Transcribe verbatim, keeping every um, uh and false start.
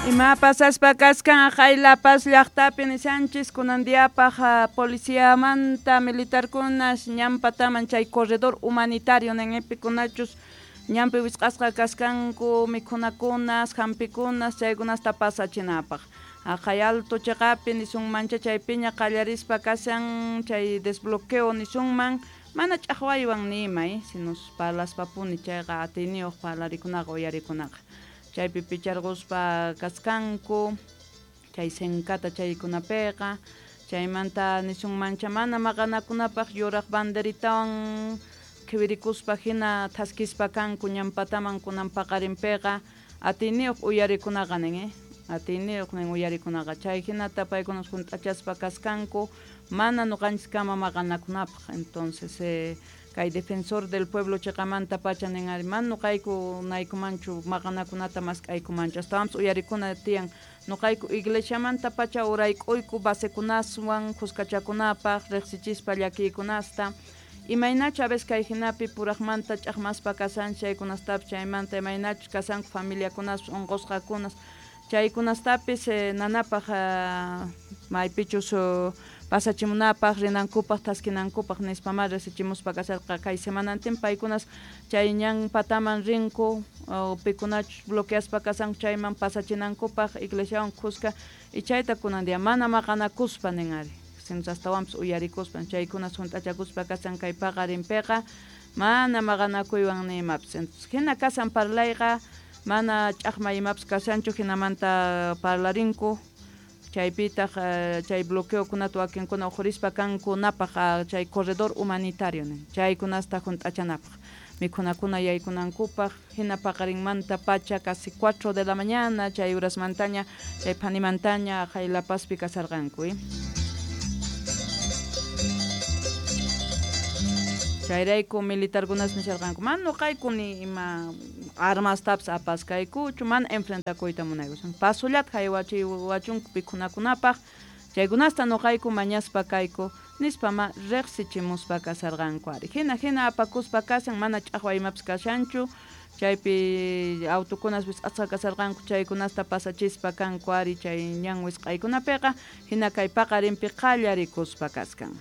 Ima pasaspa kaskan aqay La Paz llaqtapi nishanchis kunan diapaq policiamanta militarkunas ñan pataman chay corredor humanitario ninpikunachus ñanpi wisq'asqa kaskanku mikhunakunas hampikunas chaykunasta pasachinapaq aqay alto chiqapi nisunmancha chaypiña qallarispa kashan chay desbloqueo nisunman mana ch'aqwaywan ni sino parlaspapuni chayqa atiyniyuq parlarikunaqa uyarikunaqa chaypi picharquspa kaskanku chay senkata chaykunapiqa chaymanta nisunmancha mana maqanakunapaq yuraq banderitawan qhiwirikuspa hina thaskispa kanku ñan pataman kunan paqarinpiqa atiyniyuq uyarikunaqa nin eh atiyniyuq nin uyarikunaqa chay hinata paykuna hunt'achaspa kaskanku mana ñuqanchiskama maqanakunapaq entonces eh, kay defensor del pueblo chiqamanta pacha nin ari mana ñuqayku naykumanchu maqanakunata mask'aykumanchu astawanpis uyarikuna tiyan ñuqayku iglesiamanta pacha urayk'uyku basekunaswan kuskachakunapaq riqsichispa llakiykunasta imaynachu a veces kay hinapi puraqmanta ch'aqmaspa kashanchik chaykunastapis chaymanta imaynachus kashanku familiakunaspis unqusqakunas chaykunastapis eh, nanapaq maypichus pasachimunapaq rinankupaq thaskinankupaq nispamá riqsichimuspa kasharqa kay semanantin paykunas chay ñan pataman rinku pikunachus bloqueaspa kashanku chayman pasachinankupaq iglesiawan kuska y chayta kunan día mana maqanakuspa nin ari sino astawanpis uyarikuspa chaykunas hunt'achakuspa kashan kay paqarinpiqa mana maqanakuywan ni imapis entonces hina kashan parlayqa mana ch'aqma imapis kashanchu hinamanta parlarinku chaypitaq chay bloqueokunata wakinkuna uqhurispa kanku napaq chay corredor humanitario nin chaykunasta hunt'achanapaq mikhunakuna yaykunankupaq hina paqarinmanta pacha casi cuatro de la mañana chay urasmantaña chay phanimantaña aqay La Pazpi kasharqanku eh. Chayrayku militarkunas nisharqanku mana ñuqayku ni ima armastapis apaskaykuchu mana enfrentakuyta munayku pasullata haywachiwachunku pikhunakunapaq chaykunasta ñuqayku mañaspa kayku nispama riqsichimuspa kasharqanku ari hina hina apakuspa kashan mana ch'aqwa imapis kashanchu chaypi autokunas wisq'asqa kasharqanku chaykunasta pasachispa kanku ari chay ñan wisq'aykunapiqa hina kay paqarinpi qallarikuspa kaskan.